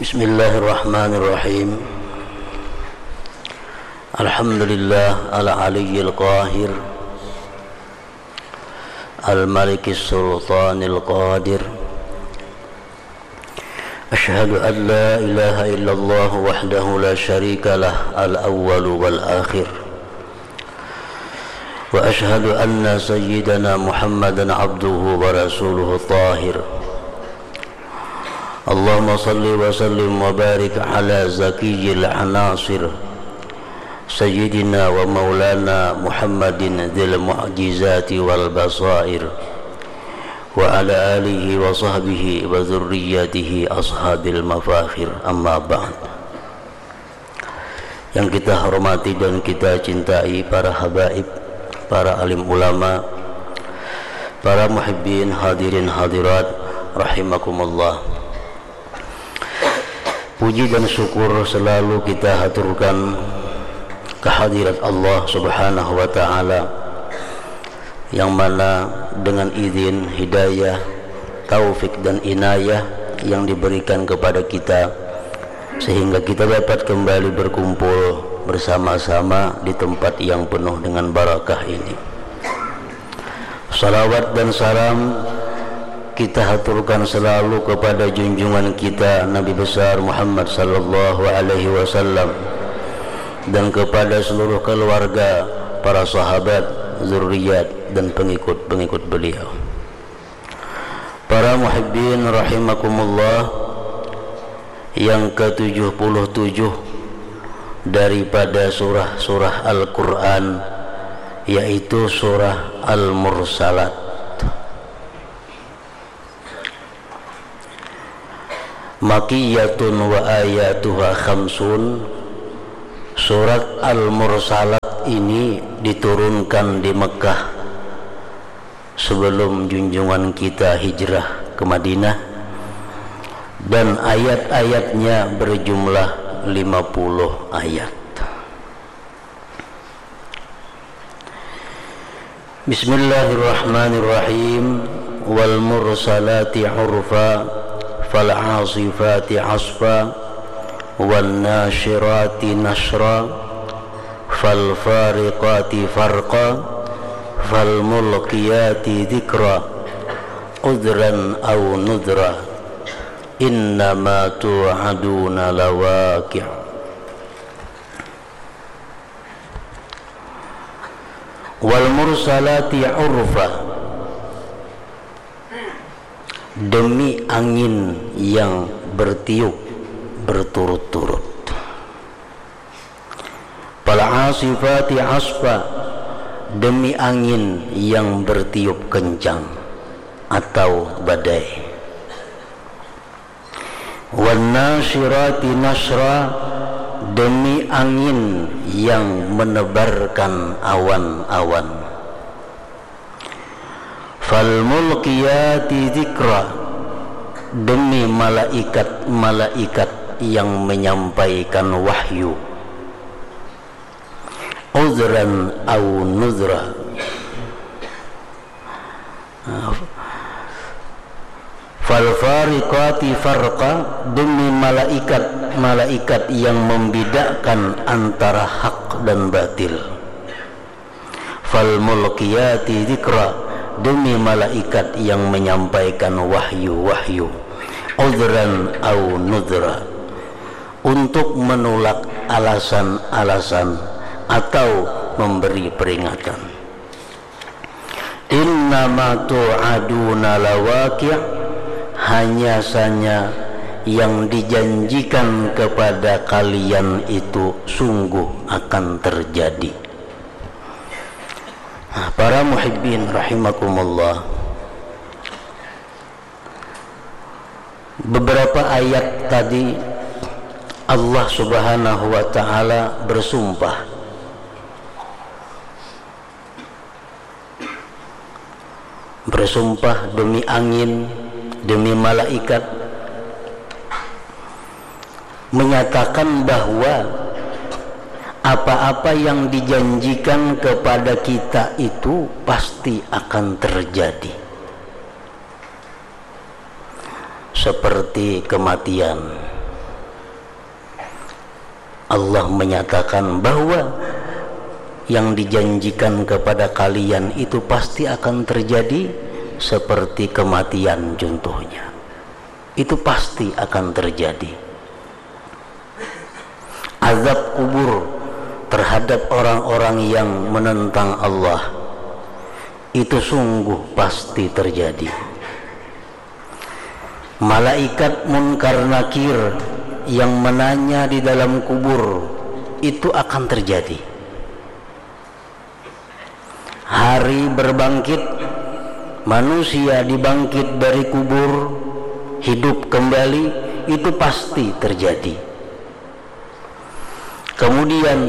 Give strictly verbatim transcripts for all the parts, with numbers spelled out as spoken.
Bismillahirrahmanirrahim. Alhamdulillah al-aliyyil qahir, al-malikis sultanil qadir. Asyhadu an la ilaha illallah wahdahu la syarika lah, al-awwalu wal akhir. Wa asyhadu anna sayyidana Muhammadan abduhu wa rasuluhu tahir. Allahumma salli wa sallim wa barik ala zakiyil anasir, sayyidina wa maulana Muhammadin dzil mu'jizati wal basair, wa ala alihi wa sahbihi wa dzurriyyatihi ashabil mafakhir, amma ba'd. Yang kita hormati dan kita cintai, para habaib, para alim ulama, para muhibbin, hadirin hadirat rahimakumullah. Puji dan syukur selalu kita haturkan kehadirat Allah Subhanahu wa Ta'ala, yang mana dengan izin, hidayah, taufik, dan inayah yang diberikan kepada kita, sehingga kita dapat kembali berkumpul bersama-sama di tempat yang penuh dengan barakah ini. Salawat dan salam kita haturkan selalu kepada junjungan kita Nabi besar Muhammad sallallahu alaihi wasallam, dan kepada seluruh keluarga, para sahabat, zuriat, dan pengikut-pengikut beliau. Para muhibbin rahimakumullah, yang ketujuh puluh tujuh daripada surah-surah Al-Quran, yaitu surah Al-Mursalat. Makiyatun wa ayatuha khamsun. Surat Al-Mursalat ini diturunkan di Mekah sebelum junjungan kita hijrah ke Madinah, dan ayat-ayatnya berjumlah lima puluh ayat. Bismillahirrahmanirrahim. Wal mursalati urfa, fal asifati asfa, wan nasyirati nasyra, fal fariqati farqa, fal mulqiyati dzikra, udhran aw nudhra, innama tu'aduna lawaqi'. Wal mursalati urfa, demi angin yang bertiup berturut-turut. Fal asifati asfa, demi angin yang bertiup kencang atau badai. Wan nasyirati nasyra, demi angin yang menebarkan awan-awan. Fal mulqiyati dzikra, demi malaikat-malaikat yang menyampaikan wahyu. Udhran aw nudhra. Fal fariqati farqa, demi malaikat-malaikat yang membedakan antara hak dan batil. Fal mulqiyati dzikra, demi malaikat yang menyampaikan wahyu-wahyu. Udhran aw nudhra, untuk menolak alasan-alasan atau memberi peringatan. Innama tu'aduna lawaqi', hanya saja yang dijanjikan kepada kalian itu sungguh akan terjadi. Nah, para muhibbin rahimakumullah, beberapa ayat tadi Allah Subhanahu wa Ta'ala bersumpah. Bersumpah demi angin, demi malaikat, menyatakan bahwa apa-apa yang dijanjikan kepada kita itu pasti akan terjadi. Seperti kematian, Allah menyatakan bahwa yang dijanjikan kepada kalian itu pasti akan terjadi, seperti kematian contohnya. Itu pasti akan terjadi. Azab kubur terhadap orang-orang yang menentang Allah itu sungguh pasti terjadi. Malaikat Munkar Nakir yang menanya di dalam kubur itu akan terjadi. Hari berbangkit, manusia dibangkit dari kubur, hidup kembali, itu pasti terjadi. Kemudian,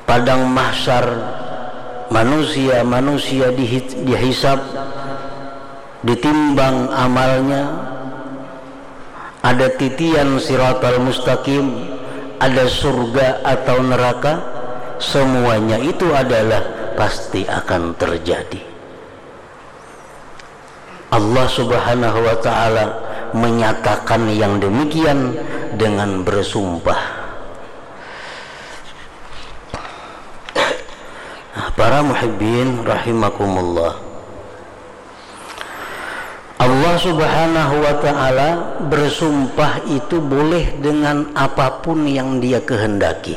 padang mahsyar, manusia-manusia dihi-, dihisab, ditimbang amalnya, ada titian siratal mustaqim, ada surga atau neraka, semuanya itu adalah pasti akan terjadi. Allah Subhanahu wa Ta'ala menyatakan yang demikian dengan bersumpah. Para muhibbin rahimakumullah. Allah Subhanahu wa Ta'ala bersumpah itu boleh dengan apapun yang Dia kehendaki.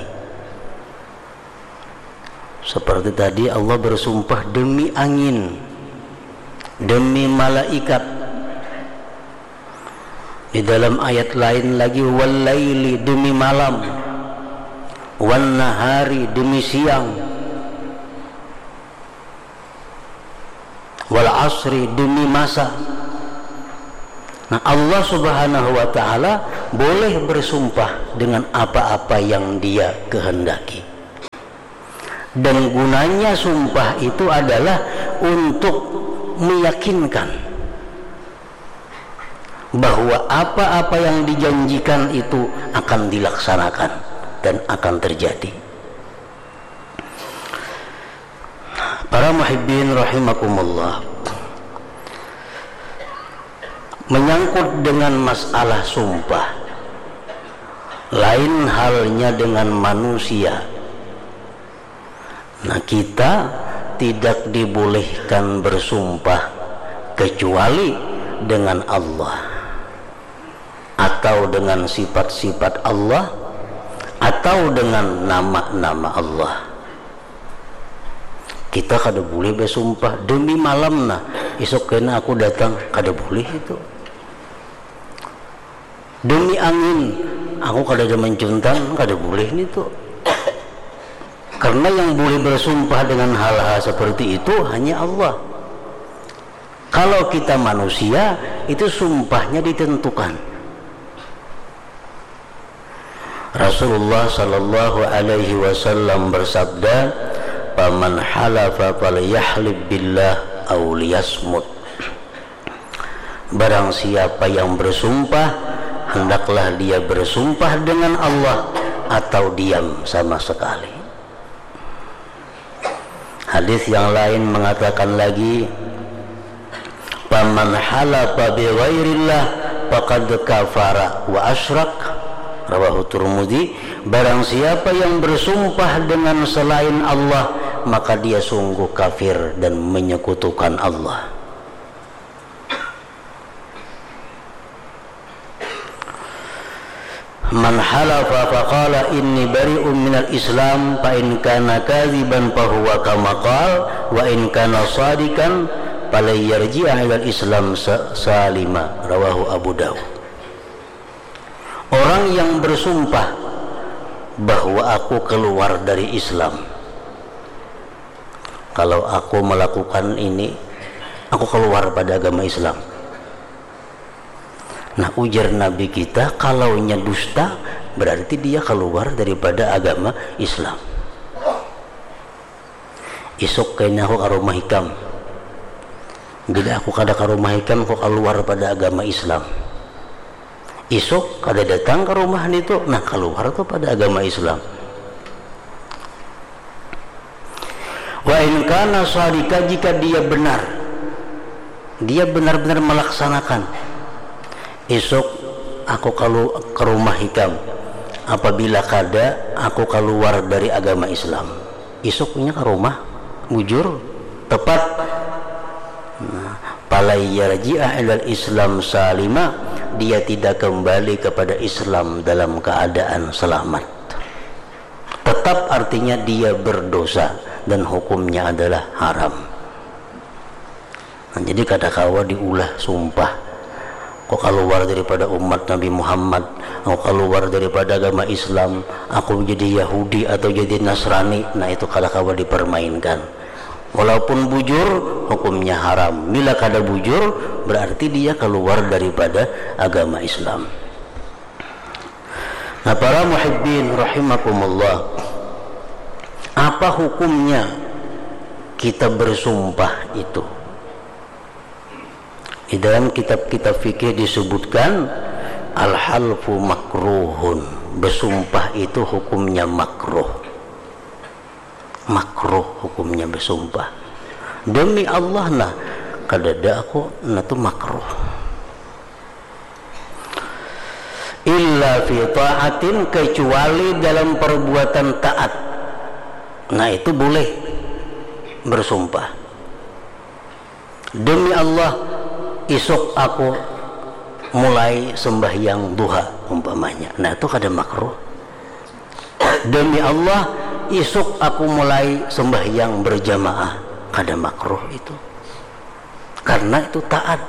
Seperti tadi, Allah bersumpah demi angin, demi malaikat. Di dalam ayat lain lagi, "Wal laili," demi malam, "wan nahari," demi siang, "wal asri," demi masa. Nah, Allah Subhanahu wa Ta'ala boleh bersumpah dengan apa-apa yang Dia kehendaki. Dan gunanya sumpah itu adalah untuk meyakinkan bahwa apa-apa yang dijanjikan itu akan dilaksanakan dan akan terjadi. Para muhibbin rahimakumullah, menyangkut dengan masalah sumpah, lain halnya dengan manusia. Nah, kita tidak dibolehkan bersumpah kecuali dengan Allah, atau dengan sifat-sifat Allah, atau dengan nama-nama Allah. Kita kada boleh bersumpah, "Demi malam nah, isuk kena aku datang." Kada boleh itu. "Demi angin, aku kada ada mencuntan." Kada boleh nitu. Karena yang boleh bersumpah dengan hal-hal seperti itu hanya Allah. Kalau kita manusia, itu sumpahnya ditentukan. Rasulullah sallallahu alaihi wasallam bersabda, "Paman halafa falyahlib billah aw liyasmut." Barang siapa yang bersumpah, hendaklah dia bersumpah dengan Allah atau diam sama sekali. Hadis yang lain mengatakan lagi, "Paman halafa bi ghairillah faqad kafara wa asyrak." Rawahu Turmudi. Barang siapa yang bersumpah dengan selain Allah, maka dia sungguh kafir dan menyekutukan Allah. "Man halafa faqala inni bari'un minal Islam, fa in kana kadziban fa huwa kama qal, wa in kana shadiqan falan yarji'a ilal Islam sa-, salima." Rawahu Abu Daud. Orang yang bersumpah bahwa aku keluar dari Islam, kalau aku melakukan ini, aku keluar pada agama Islam. Nah, ujar Nabi kita, kalaunya dusta, berarti dia keluar daripada agama Islam. Isuk kena aku ka rumah ikam. Bila aku kada ka rumah ikam, aku kaluar pada agama Islam. Isuk kada datang ka rumah nitu, nah, kaluar tu pada agama Islam. Wa in kana shadika, jika dia benar, dia benar-benar melaksanakan. Isuk aku kalu-, ke rumah ikam, Apabila kada, aku kaluar dari agama Islam. Isuk inya ka rumah, bujur, tepat. Nah, falai yarji'a ilal Islam salima, dia tidak kembali kepada Islam dalam keadaan selamat. Tetap artinya dia berdosa dan hukumnya adalah haram. Nah, jadi kada kawa diulah sumpah. Aku kaluar daripada umat Nabi Muhammad, aku kaluar daripada agama Islam, aku jadi Yahudi atau jadi Nasrani, nah itu kada kawa dipermainkan. Walaupun bujur, hukumnya haram. Bila kada bujur, berarti dia kaluar daripada agama Islam. Nah, para muhibbin rahimakumullah, apa hukumnya kita bersumpah itu? Di dalam kitab-kitab fikih disebutkan, al-halfu makruhun. Bersumpah itu hukumnya makruh. Makruh hukumnya bersumpah. Demi Allah, nah, kadada aku, nah, tu makruh. Illa fi ta'atin, kecuali dalam perbuatan taat. Nah, itu boleh bersumpah. Demi Allah, isuk aku mulai sembahyang duha, umpamanya. Nah, itu kada makruh. Demi Allah, isuk aku mulai sembahyang berjamaah. Kada makruh itu. Karena itu taat.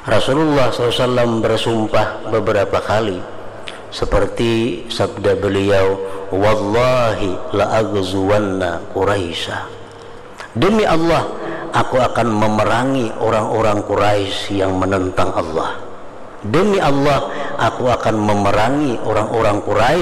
Rasulullah sallallahu alaihi wasallam bersumpah beberapa kali, seperti sabda beliau, "Wallahi la aghzuwanna Quraisya." Demi Allah, aku akan memerangi orang-orang Quraisy yang menentang Allah. Demi Allah, aku akan memerangi orang-orang Quraisy